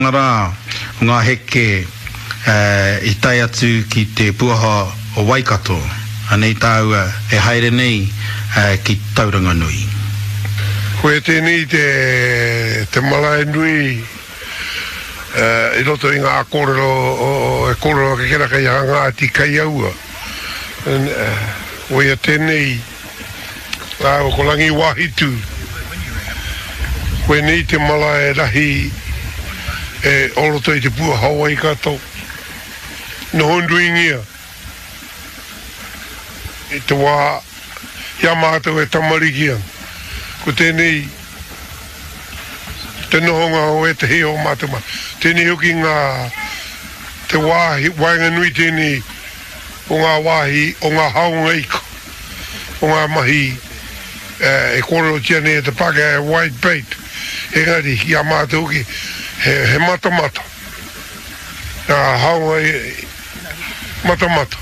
Rā o ngā heke i tae atu ki te puaha o Waikato, anei tāua e haere nei ki Tauranganui. Koia tēnei te te marae nui i roto i ngā kōrero e kōrero ake kera kei a Ngāti Kaiaua. Koia tēnei rāua ko Rangiwāhitu. Koinei te marae rahi e o roto i te pua o Waikato. Noho nuingia i te wā i a mātou e tamariki ana. Ko tēnei te nohonga o ētehi o mātou mahi. Tēnei hoki ngā te wāhi waenganui tēnei o ngā wāhi o ngā haonga ika, o ngā mahi e kōrerotia nei e te Pākehā he white bait, engari ki a mātou hoki he matamata ngā haonga matamata.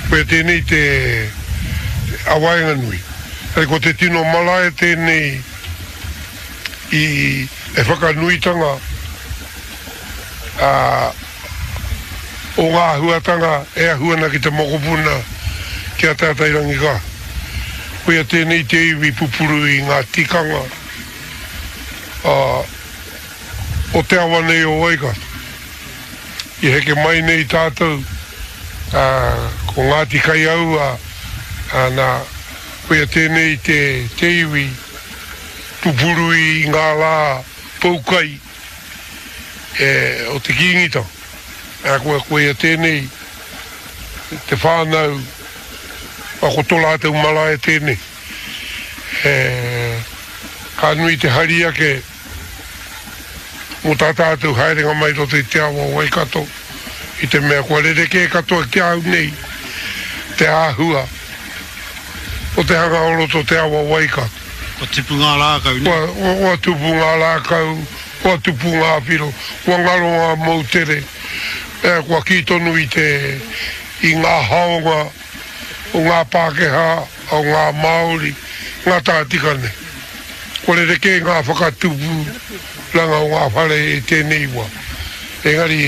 Koia tēnei te a waenganui. Engari ko te tino marae tēnei i e whakanuitanga a o ngā āhuatanga e ahu ana ki te mokopuna ki a Tātairangikā. Koia tēnei te iwi pupuru i ngā tikanga o te awa nei o Waikato. I heke mai nei tātou, ko Ngāti Kaiaua, nā, koia tēnei te iwi pupuru i ngā rā poukai e, o te Kīngitanga. Ā, koa, koia tēnei te whānau, ā, ko tō rātou marae tēnei. E, ka nui te hari ake mō tā tātou haerenga mai roto i te awa o Waikato, i te mea kua rerekē katoa ki a au nei te āhua o te hanga o roto te awa o Waikato. Kua tipu ngā rākau, nē? Kua, kua tupu ngā rākau, kua tupu ngā whiro, kua ngaro ngā moutere, kua kī tonu i te, i ngā haonga o ngā Pākehā, o ngā Māori, ngā tātika nei. Kua rerekē ngā whakatupuranga o ngā whare i tēnei wā. Engari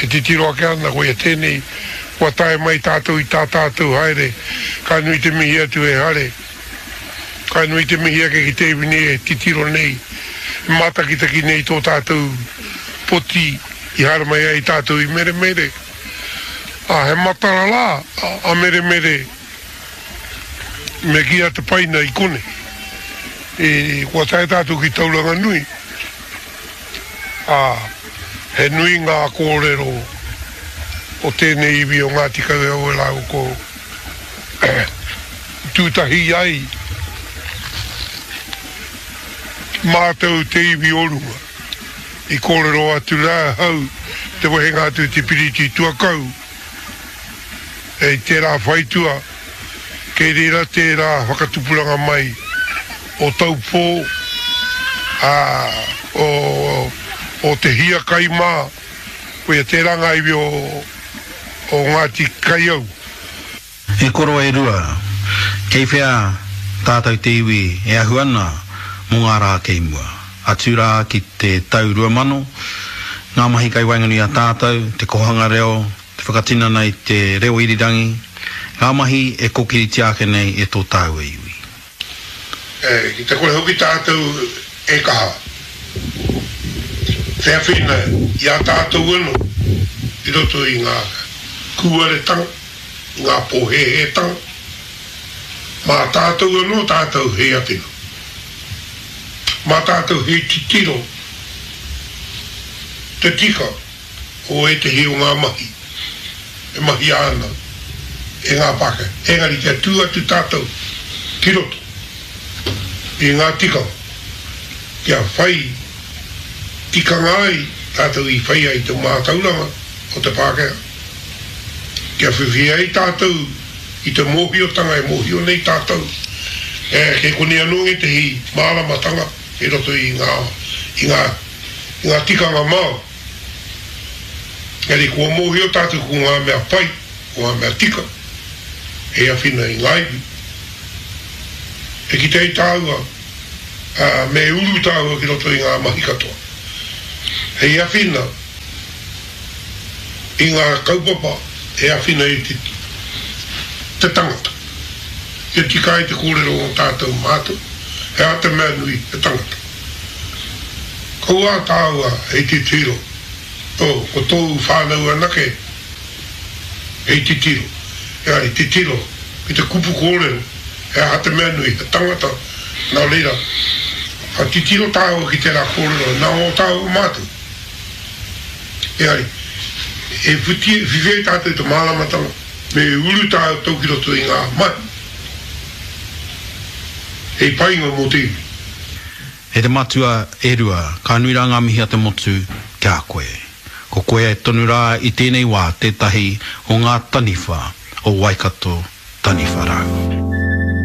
e titiro ake ana koia tēnei, kua tae mai tātou i tā tātou haere, ka nui te mihi atu e Hare. Ka nui te mihi ake ki te iwi nei e titiro nei, e mātakitaki nei tō tātou poti i haere mai ai tātou i Meremere. Ā, he matara rā a Meremere me kī a Te Paina i konei. I, kua tae tātou ki Tauranganui, ā, he nui ngā kōrero o tēnei iwi o Ngāti Kaueaue rāua ko Tūtahi ai mātou te iwi o runga. I kōrero atu rā ahau te wehenga atu i te piriti tuakau i tērā whaitua, kei reira tērā whakatupuranga mai o Taupō, ā, o, o Te Hiakai mā, koia tērā ngā iwi o, o Ngāti Kaiau. E koro e rua, kei whea tātou te iwi e ahu ana mō ngā rā kei mua? Atu rā ki te tau 2000, ngā mahi kai waenganui i a tātou, te kohanga reo, te whakatinana i te reo irirangi, ngā mahi e kokiritia ake nei e tō tāua iwi. Ki te kore hoki tātou e kaha te awhina i a tātou anō i roto i ngā kūaretanga, i ngā pōhēhētanga, mā tātou anō tātou hei awhina, mā tātou hei titiro te tika o ētehi o ngā mahi e mahia ana e ngā Pākehā. Engari kia tū atu tātou ki roto i ngā tikanga, kia whai tikanga ai tātou i whai ai te mātauranga o te Pākehā, kia whiwhi ai tātou i te mōhiotanga e mōhio nei tātou, kei konei anō ngētehi māramatanga i roto i ngā, i ngā, i ngā tikanga Māori. Engari kua mōhio tātou ko ngā mea pai, ko ngā mea tika, hei awhina i ngā iwi. E kite ai tāua, ā, me uru tāua ki roto i ngā mahi katoa. Hei awhina. I ngā kaupapa e awhina i te te tangata. Kia tika ai te kōrero o tātou mātou, he aha te mea nui, he tangata. Kaua tāua hei titiro, oh, ko tōu whānau anake hei titiro. Engari, titiro ki te kupu kōrero, he aha te mea nui, he tangata, nā reira, ka titiro tāua ki tērā kōrero, nā ō tāua mātou. Engari, e whiwhi ai tātou i te māramatanga, me uru tātou ki roto i ngā mahi hei painga mō te iwi. E te matua e Rua, ka nui rā ngā mihi a te motu ki a koe. Ko koe tonu rā i tēnei wā tētahi o ngā taniwha o Waikato Taniwha Rau.